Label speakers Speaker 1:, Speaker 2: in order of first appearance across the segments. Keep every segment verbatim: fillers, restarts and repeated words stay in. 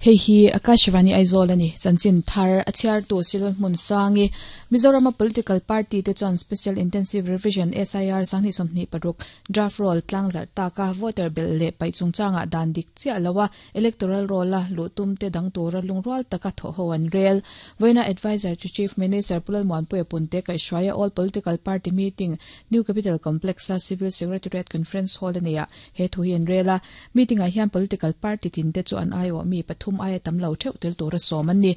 Speaker 1: Hei hi Akashvani Aizawl ani chanchin thar a chhiar tu sil hmun sangi Mizoram political party te chuan Special Intensive Revision S I R sanghnih sawmhnih paruk draft roll tlangzar taka voter bel le pai chungchanga dan dik chia lawa electoral roll a lutum te dang tura lungrual taka tho ho an rel voina advisor to Chief Minister Pulal Muanpuia Punte kai hruaia all political party meeting New Capital Complex a Civil Secretariat Conference Hall ania he thu hi an rela meeting a hian political party tin te chu an aio mi pathum aia tam lo theuh tel tura sawm an ni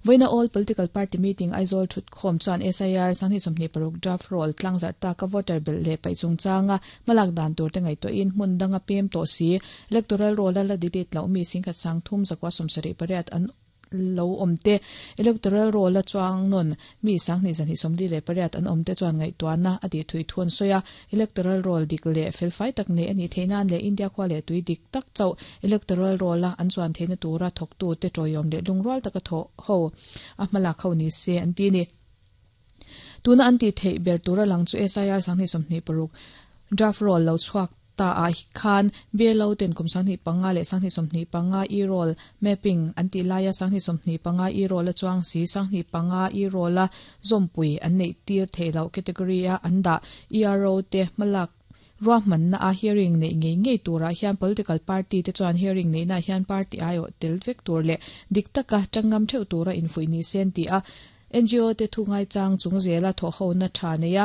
Speaker 1: voina all political party meeting Aizawl thut khom chuan S I R sanghnih sawmhnih paruk draft roll tlangzar taka voter bel le pai chungchanga malak dan tur te ngai to in hmun danga pem to si electoral roll la delete lo mi singkhat sang thum zakwa sawmsarih pariat an lo omte electoral roll a chuang non mi sanghnih zanhi sawmli le pariat an omte chuan ngai tuana adi thui thun soya electoral roll dik le felfai tak ne ani theinan le India khwa le tui dik tak chau electoral roll a an chuan theina tura thok tu te toyom le lungrual taka tho ho a hmala khau ni se an ti ni tuna an ti thei ber tura lang chu S I R sanghnih sawmhnih paruk draft roll lo chuak ta a khan belo ten kum sanghnih panga le sanghnih sawmhnih panga e roll mapping an ti laia sanghnih sawmhnih panga e roll a chuang si sanghnih panga e roll a zompui an nei tir theilo category a an da E R O te malak ruahman na a hearing nei ngei ngei tura hian political party te chuan hearing nei na hian party aio tel vek tur le dik taka tangam theu tura infui ni sen ti a N G O te thungai chang chung zela tho ho na tha neya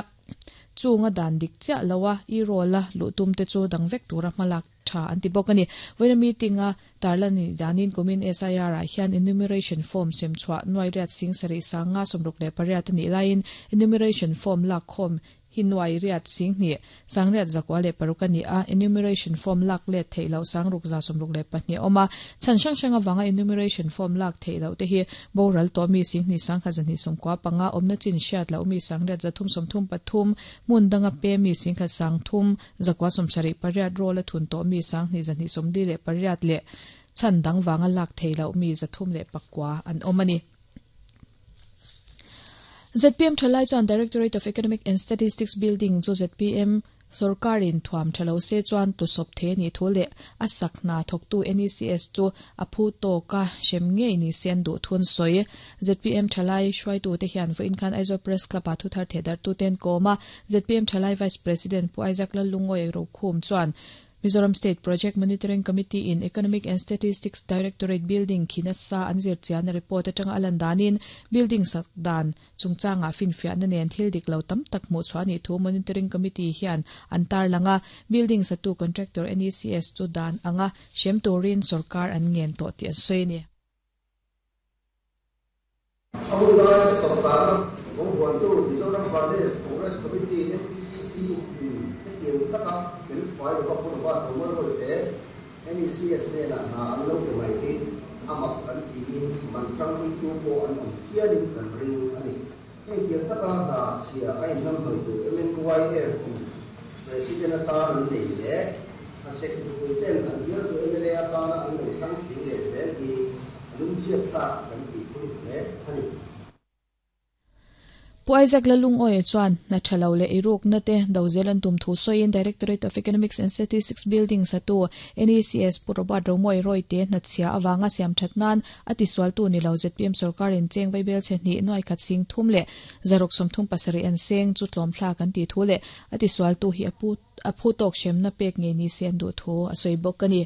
Speaker 1: chunga dan dik cha lawa i rola lutum te chu dang vek tura malak tha anti bokani voina meeting a tarlani danin kumin S I R a hian enumeration form sem chwa noi riat sing sari sanga somruk le pariat ni line enumeration form lak khom hinwai riat sing ni sangriat zakwa le parukani a enumeration form lak le theilo sangruk za somruk le pahni oma chan sang sanga wanga enumeration form lak theilo te hi boral to mi sing ni sangkha jani somkwa panga omna chin shat la umi sangriat zathum somthum pathum mun danga pe mi singkha sangthum zakwa somsari pariat rola thun to mi sang ni jani somdi le pariat le chan dang wanga lak theilo mi zathum le pakwa an omani Z P M Thalai chuan Directorate of Economic and Statistics Building chu Z P M sarkarin thuam thalo se chuan tu sop the ni thule asakna thoktu N E C S chu aphu to ka shem nge ni sen du thun soi Z P M Thalai hruai tu te hian vo inkhan Aizawl Press Club a thu thar thedar tu ten koma Z P M Thalai Vice President Pu Isaac Lalungoi ro khum chuan Mizoram State Project Monitoring Committee in Economic and Statistics Directorate Building khinasa anzir chian report atanga alandanin building sakdan chungchanga finfia na nen thil dik lo tam tak mu chuani thu monitoring committee hian antar langa building satu contractor N E C S chu dan anga shem turin sarkar an ngen to ti an soini
Speaker 2: Mizoram Committee M P C C N E C S ne la na an lo pe mai hi amak kan ti man chang i tu po an om hianin kan ring ani hei tiang taka na sia ai nam hoi tu M N Y F president ata an nei le a check tu pui ten an bial tu M L A ata na an lo sang thing le zel hi lung chiat ta kan ti pui le ani
Speaker 1: Pu Isaac Lalungoi chuan na thalo le iruk na te dozelan tum thu soin Directorate of Economics and Statistics Building satu N E C S Purobat Romoi Roite na chia awanga siam thatnan ati swal tu ni lo Z P M sarkarin cheng vaibel che ni noi khat sing thum le zarok som thum pasari an seng chu tlom thla kan ti thu le ati swal tu hi apu aphu tok shem na pek nge ni sen du thu asoi bok ani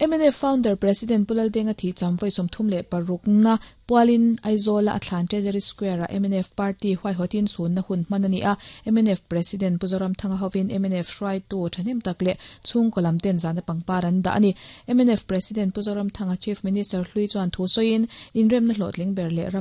Speaker 1: M N F founder President Pulal Denga thi chamvoi somthum le paruk na pualin Aizawl a thlan Treasury Square a M N F party huai hotin sun na hun manani a M N F President Puzoram Thanga hovin M N F hruai tu thanem takle chung kolam ten zana pangparan da ani M N F President Puzoram Thanga Chief Minister hlui chuan thu soin inrem na hlotling ber le